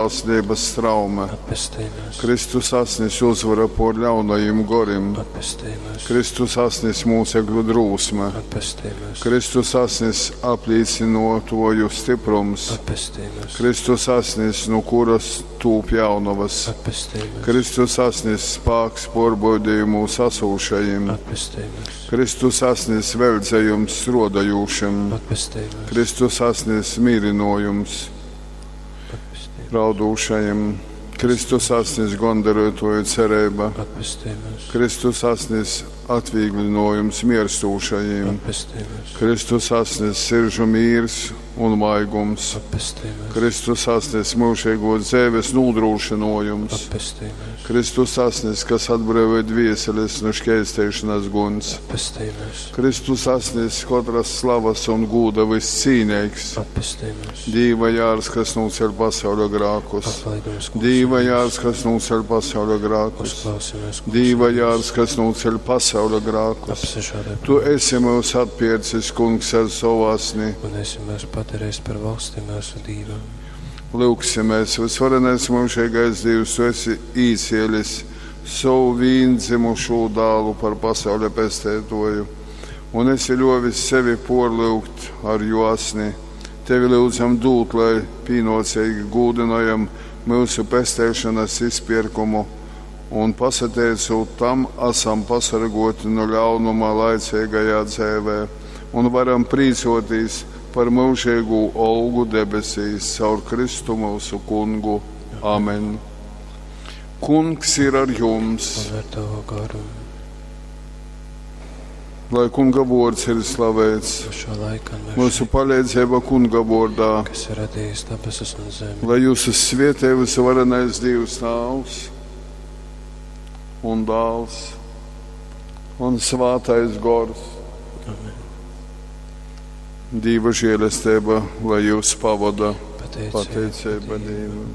Žēlsirdības straume. Atpestej mūs. Kristus asnis uzvara pār ļaunajiem goriem. Atpestej mūs. Kristus asnis mūcekļu drūsme. Atpestej mūs. Kristus asnis aplīcinotoju stiprums. Atpestej mūs. Kristus asnis, no kuras tūp jaunavas. Atpestej mūs. Kristus asnis spāks porbaudījumūs asūšajiem. Atpestej mūs. Kristus asnis veldzējums strodajūšiem. Atpestej mūs. Kristus asnis mīrinojums Atpestej mūs. raudūšajiem. Kristus asnis gondarētoju cerība. Atpestej mūs. Kristus asnis atvieglinojums mierstūšajiem. Atpestej mūs. Kristus asnis siržu mīrs un maigums. Atpestej mūs. Kristus asnis mūžīgo dzīves nodrošinojums. Atpestej mūs. Kristus asnis, kas atbrīvoja dvieseles no šķēstēšanas guns. Atpestej mūs. Kristus asnis katras slavas un gūda viscīnīgs. Atpestej mūs. Dīva jārs, kas nūceļ pasauļa grākus. Atlaidums, kungs, Dīva ir mūsu. jārs, kas nūceļ pasauļa grākus. Uzklausi mūs, kungs, Dīva ir mūsu. jārs, kas nūceļ pasauļa grākus. Apsažādē Tu esi mūs atpircis, kungs, ar savu asni. un esi mūs padarījis par valsti mūsu Dīvam. Lūksimies, visvarenais mūžīgais Dievs, tu esi īcielis savu vīndzimušo dālu par pasauļa pestētoju, un esi ļovis sevi porlūgt ar jo asni. Tevi lūdzam dūt, lai pīnocīgi gūdinojam mūsu pestēšanas izpirkumu, un pasateicot tam, esam pasargoti no ļaunuma laicīgajā dzēvē, un varam prīcoties par mūžīgu olgu debesīs caur Kristu mūsu kungu. Amen. Kungs ir ar jums, Un ar tavu garu. lai kunga vārds ir slavēts. No šā laika un Mūsu mūžīgi, palīdzība kunga vārdā, kas ir radījis debesis un zemi. lai jūs svietē visvarenais Dievs Tēvs un Dāls un Svātais Gors. Amen. Dieva žēlastība, lai jūs pavada Pateicība pateicība Dievam.